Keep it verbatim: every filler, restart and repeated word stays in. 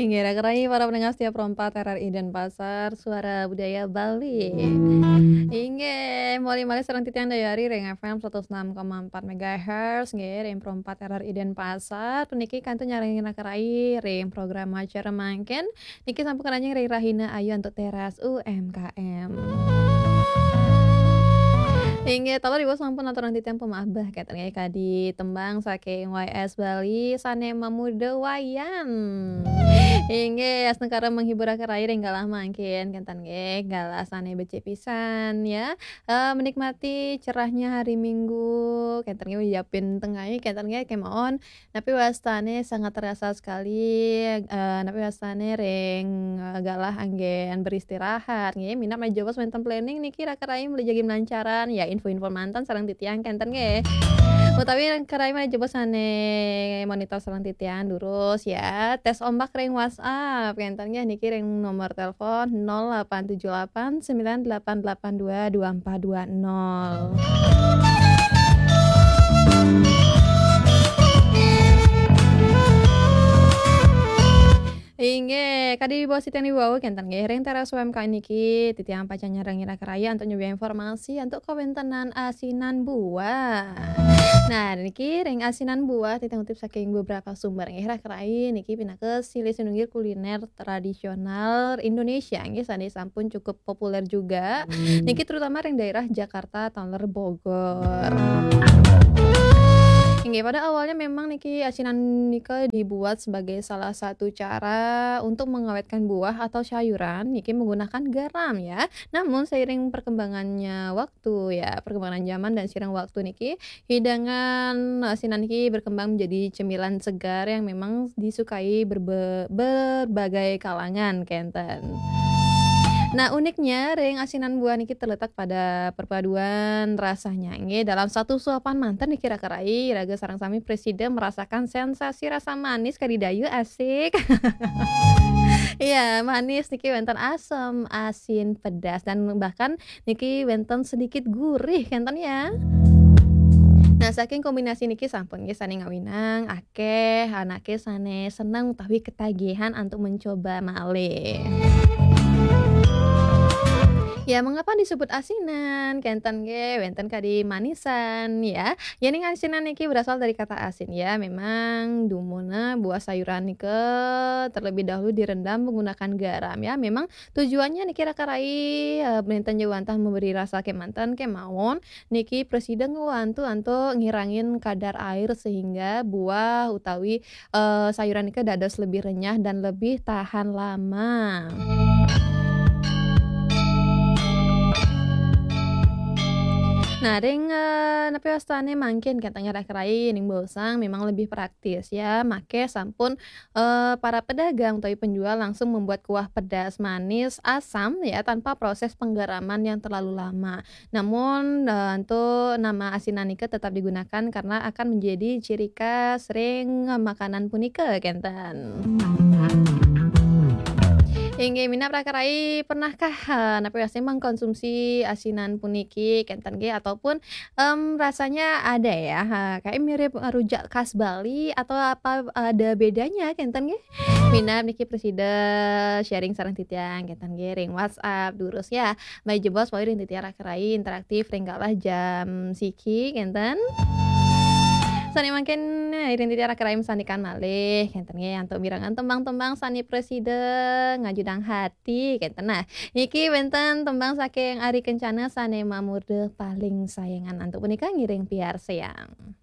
Inggih, raka rai para pendengar setia Pro empat R R I Denpasar, Suara Budaya Bali. Inggih, mawali malih sareng titiang Dayari ring F M satus enam koma empat megahertz, nggih, ring Pro empat R R I Denpasar. Puniki kantun nyarengin raka rai ring program acara mangkin. Niki sampun karanjing ring Rahina Ayu antuk teras U M K M. Inggih, taler ibu sampun aturang titiang pemaaf, kenten nggih, kadi tembang saking Y S Bali sane mamuda wayan. Inggih, astungkara menghibur raka rai ring galah mangkin, kenten nggih, galah sane becik pisan ya. Eh, menikmati cerahnya hari Minggu, kenten nggih, yapin tengai, kenten nggih, kemawon. Napi wastane sangat terasa sekali, eh, napi wastane ring, eh, galah anggen beristirahat, nggih. Minab malih jebos wenten planning niki raka rai malih jagi melancaran, ya info-info manten sareng titiang kenten nggih. Utawi raka rai malih jebos sane monitor sareng titiang durus ya. Tes ombak ring WhatsApp kenten nggih niki ring nomor telepon nol delapan tujuh delapan sembilan delapan delapan dua dua empat dua nol. Inggih, kadi baos titiang iwau kenten nggih, ring teras U M K M niki titiang pacang nyarengin raka rai antuk nyobiahang informasi antuk kawentenan asinan buah. Nah, niki ring asinan buah titiang ngutip saking beberapa sumber nggih, raka rai niki pinaka silih sinunggil kuliner tradisional Indonesia nggih, sane sampun cukup populer juga. Niki terutama ring daerah Jakarta taler Bogor. Inggih, pada awalnya memang niki asinan nika dibuat sebagai salah satu cara untuk mengawetkan buah atau sayuran niki menggunakan garam ya. Namun seiring perkembangannya waktu ya, perkembangan zaman dan seiring waktu niki, hidangan asinan niki berkembang menjadi cemilan segar yang memang disukai berbe-, berbagai kalangan kenten. Nah, uniknya ring asinan buah niki terletak pada perpaduan rasanya. Nggih, dalam satu suapan manten niki raka rai, iraga sareng sami prasida merasakan sensasi rasa manis kadi dayu, asik. Iya, manis niki wenten asem, asin, pedas, dan bahkan niki wenten sedikit gurih kenten ya. Nah, saking kombinasi niki sampun nggih sane ngawinang akeh anake sane seneng utawi ketagihan antuk mencoba malih. Ya, mengapa disebut asinan? Kenten nggih, wenten kadi manisan ya. Yening asinan niki berasal dari kata asin ya. Memang dumunna buah sayuran nika terlebih dahulu direndam menggunakan garam ya. Memang tujuannya niki raka rai, eh, nenten jauh wantah memberi rasa kemanten kemawon. Niki prasida ngwantu antuk ngirangin kadar air sehingga buah utawi, eh, sayuran nika dados lebih renyah dan lebih tahan lama. Nah, ring, eh, napi wastane mangkin kenten nggih raka rai ning baosang memang lebih praktis ya. Make sampun, eh, para pedagang utawi penjual langsung membuat kuah pedas manis asam ya tanpa proses penggaraman yang terlalu lama. Namun, eh, antuk nama asinan nika tetap digunakan karena akan menjadi ciri khas ring makanan punika kenten. Inggih, minab raka rai pernahkah, eh, napi wastane mengkonsumsi asinan puniki kenten nggih ataupun, em, rasanya ada ya, ha, kayak mirip rujak khas Bali atau apa ada bedanya kenten nggih? Minab niki prasida sharing sareng titiang kenten nggih ring WhatsApp durus ya. Malih jebos wau ring titiang raka rai interaktif ring galah jam siki kenten. Sane mangkin iring titiang raka rai masandekan malih kenten nggih antuk mirengang tembang-tembang sane prasida ngajudang hati kenten. Nah, niki wenten tembang saking Ari Kencana sane mamurda Paling Sayangan. Antuk punika ngiring piarsayang.